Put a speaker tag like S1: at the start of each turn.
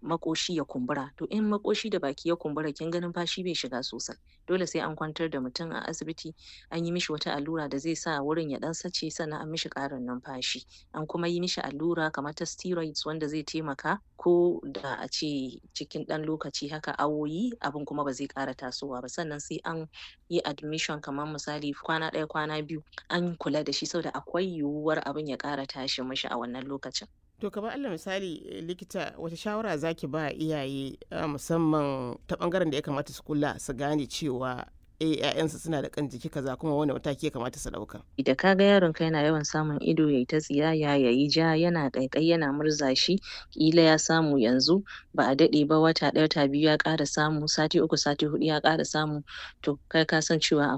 S1: Maƙoshi ya kumbura. To in maƙoshi da baki ya kumbura, kin ga numfashi bai shiga sosai. Dole sai an kwantar da mutum a asibiti, an yi mishi wata allura da zai sa wurin ya ɗan sace, sannan an mishi ƙarin numfashi. An kuma yi mishi allura kamar ta steroids wanda zai taimaka ko da a ce cikin ɗan lokaci haka, awoyi, abin kuma ba zai ƙara tasowa ba. Sannan sai an yi admission, kamar misali kwana ɗaya, kwana 2, an kula da shi saboda akwai yiwuwar abin ya ƙara tashi mishi a wannan lokacin.
S2: To kamar alal misali, likita, wace shawara zaki ba iyaye, musamman ta bangaren da ya kamata su kula su gane cewa 'ya'yansu suna da ƙan jiki kaza, kuma wane mataki ya kamata su ɗauka?
S1: Da ka ga yaronka yana yawan samun ido yayi ta tsiyaya, yayi ja, yana ƙaiƙayi, yana murza shi, ƙila ya samu yanzu, ba a daɗe ba, wata ɗaya, wata 2 ya ƙara samu, sati 3, sati 4 ya ƙara samu, to kai ka san cewa